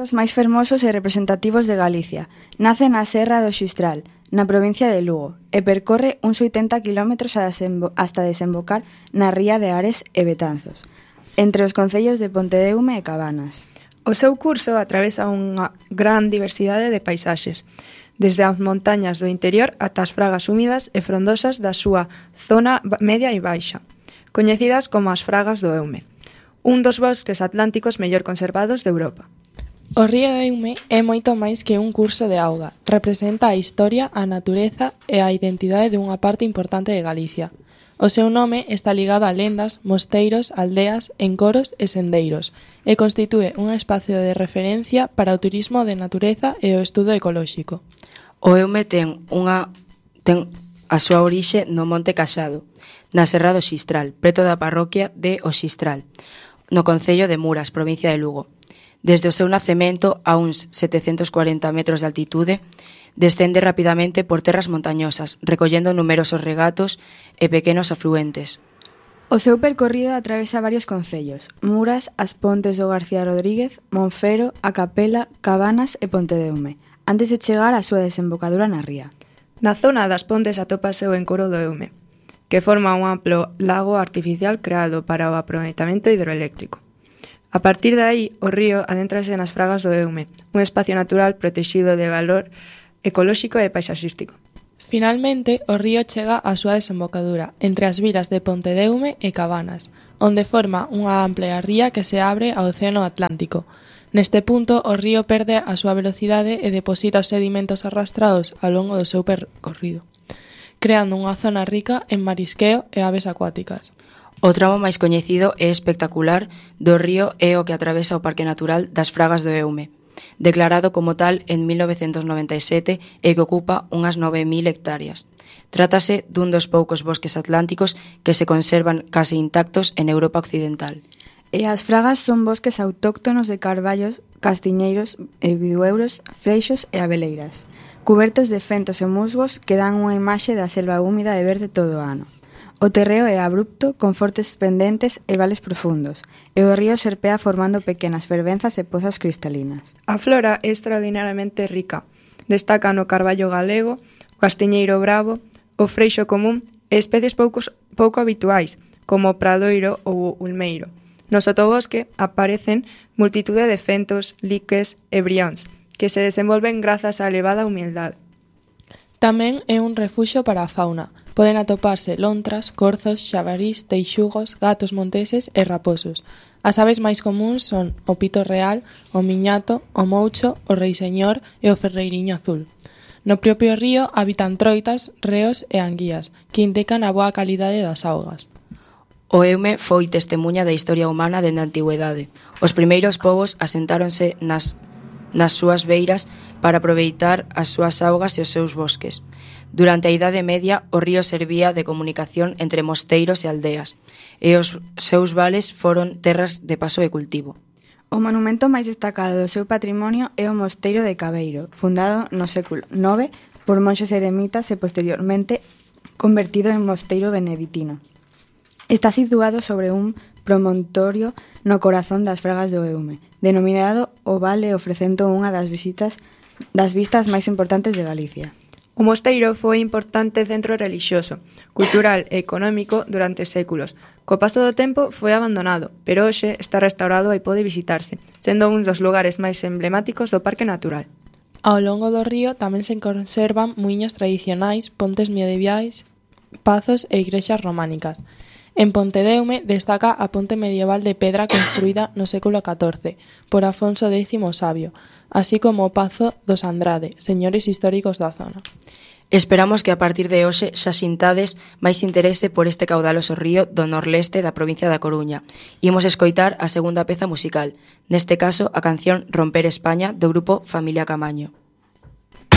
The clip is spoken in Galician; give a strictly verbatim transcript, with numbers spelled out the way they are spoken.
ríos máis fermosos e representativos de Galicia. Nace na Serra do Xistral, na provincia de Lugo, e percorre uns oitenta quilómetros hasta desembocar na ría de Ares e Betanzos, entre os concellos de Pontedeume e Cabanas. O seu curso atravesa unha gran diversidade de paisaxes, desde as montañas do interior ata as fragas húmidas e frondosas da súa zona media e baixa, coñecidas como as fragas do Eume, un dos bosques atlánticos mellor conservados de Europa. O río Eume é moito máis que un curso de auga. Representa a historia, a natureza e a identidade dunha parte importante de Galicia. O seu nome está ligado a lendas, mosteiros, aldeas, encoros e sendeiros, e constitúe un espacio de referencia para o turismo de natureza e o estudo ecolóxico. O Eume ten unha ten a súa orixe no Monte Caxado, na Serra do Xistral, preto da parroquia de O Xistral, no concello de Muras, provincia de Lugo. Desde o seu nacemento a uns setecentos cuarenta metros de altitude, descende rapidamente por terras montañosas, recollendo numerosos regatos e pequenos afluentes. O seu percorrido atravesa varios concellos: Muras, As Pontes do García Rodríguez, Monfero, A Capela, Cabanas e Pontedeume, antes de chegar á súa desembocadura na ría. Na zona das Pontes atópase o encoro do Eume, que forma un amplo lago artificial creado para o aproveitamento hidroeléctrico. A partir de aí, o río adéntrase nas fragas do Eume, un espacio natural protexido de valor ecolóxico e paisaxístico. Finalmente, o río chega á súa desembocadura, entre as vilas de Pontedeume e Cabanas, onde forma unha ampla ría que se abre ao Océano Atlántico. Neste punto, o río perde a súa velocidade e deposita os sedimentos arrastrados ao longo do seu percorrido, creando unha zona rica en marisqueo e aves acuáticas. O tramo máis coñecido e espectacular do río é o que atravesa o Parque Natural das Fragas do Eume, declarado como tal en mil novecentos noventa e sete e que ocupa unhas nove mil hectáreas. Trátase dun dos poucos bosques atlánticos que se conservan case intactos en Europa occidental. E as fragas son bosques autóctonos de carballos, castiñeiros, bidueuros, freixos e abeleiras, cubertos de fentos e musgos que dan unha imaxe da selva húmida e verde todo o ano. O terreo é abrupto, con fortes pendentes e vales profundos, e o río serpea formando pequenas fervenzas e pozas cristalinas. A flora é extraordinariamente rica. Destacan o carballo galego, o castiñeiro bravo, o freixo común e especies poucos, pouco habituais, como o pradoiro ou o ulmeiro. No sotobosque aparecen multitude de fentos, liques e brións, que se desenvolven grazas á elevada humildade. Tamén é un refuxo para a fauna. Poden atoparse lontras, corzos, xabarís, teixugos, gatos monteses e raposos. As aves máis comúns son o pito real, o miñato, o moucho, o reiseñor e o ferreiriño azul. No propio río habitan troitas, reos e anguías, que indican a boa calidade das augas. O Eume foi testemuña da historia humana dende a antigüedade. Os primeiros povos asentáronse nas, nas súas beiras para aproveitar as súas augas e os seus bosques. Durante a Idade Media, o río servía de comunicación entre mosteiros e aldeas, e os seus vales foron terras de paso e cultivo. O monumento máis destacado do seu patrimonio é o Mosteiro de Cabeiro, fundado no século nove por monxes eremitas e posteriormente convertido en mosteiro beneditino. Está situado sobre un promontorio no corazón das Fragas do Eume, denominado o Vale, ofrecendo unha das visitas das vistas máis importantes de Galicia. O mosteiro foi importante centro relixioso, cultural e económico durante séculos. Co paso do tempo foi abandonado, pero hoxe está restaurado e pode visitarse, sendo un dos lugares máis emblemáticos do Parque Natural. Ao longo do río tamén se conservan muiños tradicionais, pontes medievais, pazos e igrexas románicas. En Pontedeume destaca a ponte medieval de pedra construída no século catorce por Afonso décimo o Sabio, así como o Pazo dos Andrade, señores históricos da zona. Esperamos que a partir de hoxe xa xintades máis interese por este caudaloso río do norleste da provincia da Coruña. Imos escoitar a segunda peza musical, neste caso a canción Romper España do grupo Familia Camaño.